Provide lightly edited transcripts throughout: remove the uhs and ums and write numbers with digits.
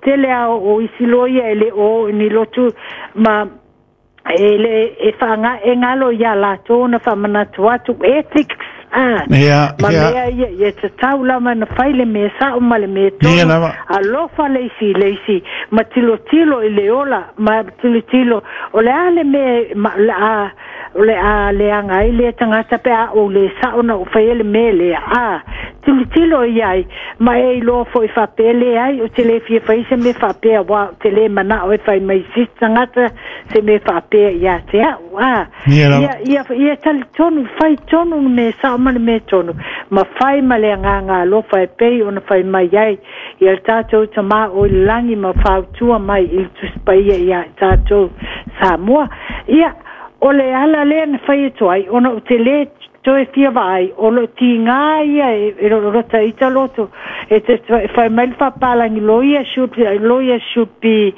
tele a o isi loia e le o ni lotu ma e le e whaanga e ngalo ia latou na whamanatu atu ethics ma mea ia ia te tau lava na fai le mea sa'o ma le mea tonu alofa le isi le isi ma tilotilo i le ola ma tilotilo o le a le mea ma la o le a leaga ai le tagata pe a ou le sa'o na ou faia le mea lea a tilotilo i ai ma e iloa fo'i faapea leai ou te lē fia fai se mea faapea uā ou te lē mana'o e fai mai se isi tagata se mea faapea iā te a'u a ia ia ia talitonu fai tonu le mea sa'o ma le mea tonu ma fai ma le agaga alofa e pei ona fai mai ai ia le tatou Tamā o i le lagi ma fautua mai i le Tusi Paia iā i tatou Samoa. Ia, o le ala lea na fai atu ai, ona ou te lē toe fia vaai, o loo tigā ia e lota ita loto, e te fai mai le faapalagi lawyer should, lawyer should be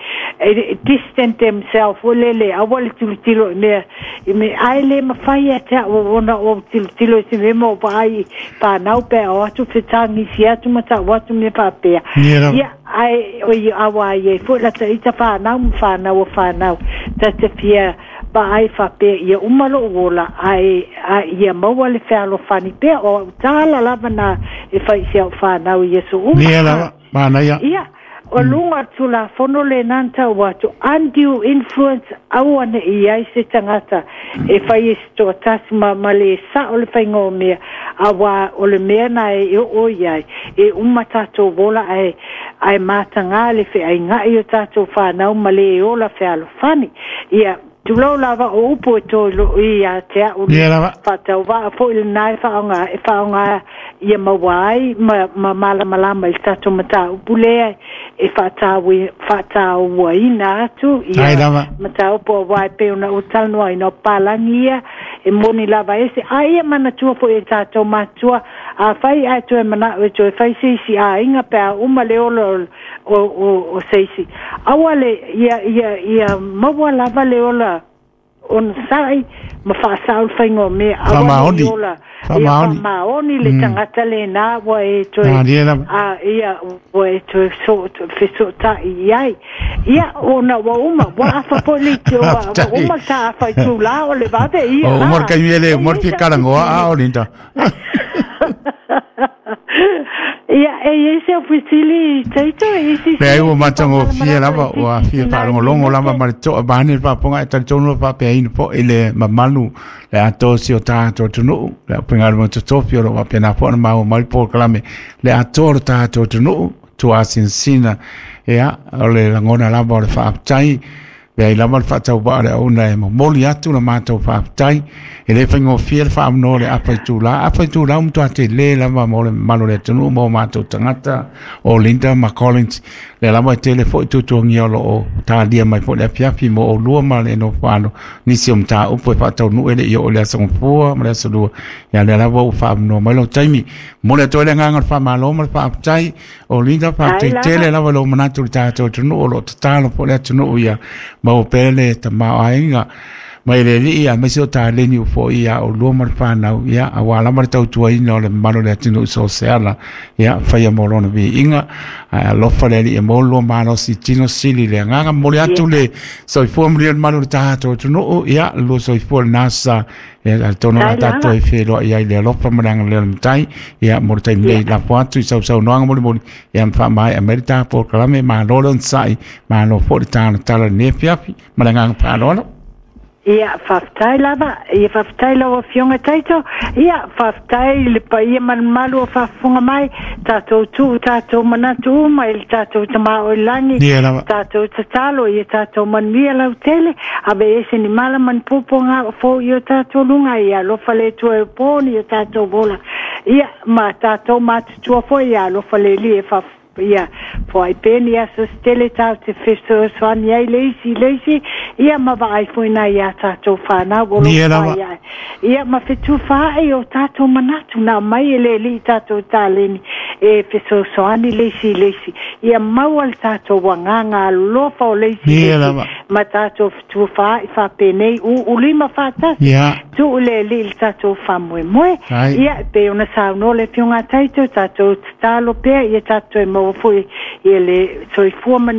distant themselves, foi lele, aua le tilotilo i mea, i mea, ae le mafai ia te au ona ou tilotilo i se mea ma ou vaai i whanau pe o atu fetagisi atu ma ta'u atu mea faapea. Ia, ae oi aua ai ai foi lata ita whanau ma whanau o whanau, ta te fia vaai faapea ia uma lo'u ola ae a ia maua le fealofani pea o a'u tala lava na e fai i si a'u fanau i aso uma. Ia lava, manaia. Ia, o luga o le Tulafono lenā na tau atu, undue influence, aua ne i ai se tagata e fai e se toatasi ma, ma lē sa'o le faiga o mea, auā o le mea na e oo i ai, e uma tatou ola ae, ae matagā le feaiga'i o tatou fanau ma lē ola fealofani. Ia, tulou lava o upu e toe lo'o iā te a'u le faatauvaa foi lenā e faaaoga e faaaoga ia maua ai ma ma malamalama i le tatou mataupu lea e faataua faatauaina atu ia mataupu auā e pei ona ou talanoaina o papalagi ia e moni lava ese a ia manatua foi e tatou matua afai ae toe mana'o e toe fai se isi aiga pe a uma le ola o se isi aua le ia ia ia maua lava le ola onosai ma faasao le faiga o mea aua ne i ola ia faamaoni le tagata lenā ua e toe a ia ua e toe fesootai i ai ia ona ua uma ua afa foi le ua uma le taafa i tulā o le vave ia o uma le taimi e le uma le fia talanoa a o Linda. Ia, e i ai se au fesili, Taito, e isi Leai, ua matagofie lava, ua fia faalogologo lava ma le toa vaeane le faafofoga, e talitonu ua faapeaina foi le mamalu le atoa o si o tatou atunuu, le aufaigaluega totofi o lo o faapena foi ona maua mai le polokalame le atoa o le tatou atunuu, tuasinasina, ia, o le lagona lava o le faafetai. Leai lava le faatauvaa o le auauna e momoli atu la matou faafetai. E le faigofie le faaavanoa o le afa itula. Afa itula ua matua tele lava mo le mamalu o le atunuu ma o matou tagata o Linda ma Collins. Lea lava e tele foi tuatuagia o lo o talia mai foi le afiafi mo oulua ma le nofo nisi o mataupu e faataunuu e le i oo i le Aso Gafua ma le Aso Lua. Ia lea lava ua faaavanoa mai lou taimi. Momoli atu ai le agaga o le faamalo ma le faafetai. O Linda, faafetai tele lava i lou manatu i le tatou atunuu, o lo o tatalo foi le atunuu ia maua pea le tamaoaiga mai le Alii, aemaise o taleni ua foi ia oulua ma le fanau, ia, aua lava le tautuaina o le mamalu o le atunuu i so o se ala, ia, faia mo lona viiga, ae alofa le Alii e maua le lua malosi tino sili le agaga. Momoli atu le soifua manuia i le mamalu o le tatou atunuu, ia, le lua soifua lena sa. Ia, atonu o le a tatou e feiloai ai i le alofa ma le agalelei o le Matai. Ia, mo le taimi nei, lafo atu i sausaunoaga molimoli, ia ma faamaea mai le ta polokalame. Malo le onosai, malo foi le talatala i lenei afiafi, ma le agaga faaaloalo. Ia, faafetai lava. Ia, faafetai lau Afioga Taito. Ia, faafetai i le paia ma le mamalu o faafofoga mai, tatou tuu tatou manatu uma i le tatou Tama o i le lagi, tatou tatalo ia tatou manuia lautele, Ave ese ni mala ma ni puapuaga o fou i o tatou luga, ia alofa le Atua e opo ni o tatou ola, ia ma tatou matutua foi, ia alofa le Alii e fa, ia foai pea ni aso se tele tatou te fesoasoani ai le isi i le isi, ia ma vaai foi nai a tatou fanau o lo o fai ae, ia ma fetufaai o tatou manatu na aumai e le Alii i tatou taleni e fesoasoani le isi i le isi, ia maua le tatou agaga alofa o le isi i le isi, ma tatou fetufaai faapenei uulima faatasi, tuu le Alii i le tatou faamoemoe. Ia, e pei ona saunoa le Afioga a Taito, tatou tatalo pea ia tatou toe maua foi ia le soifua manuia.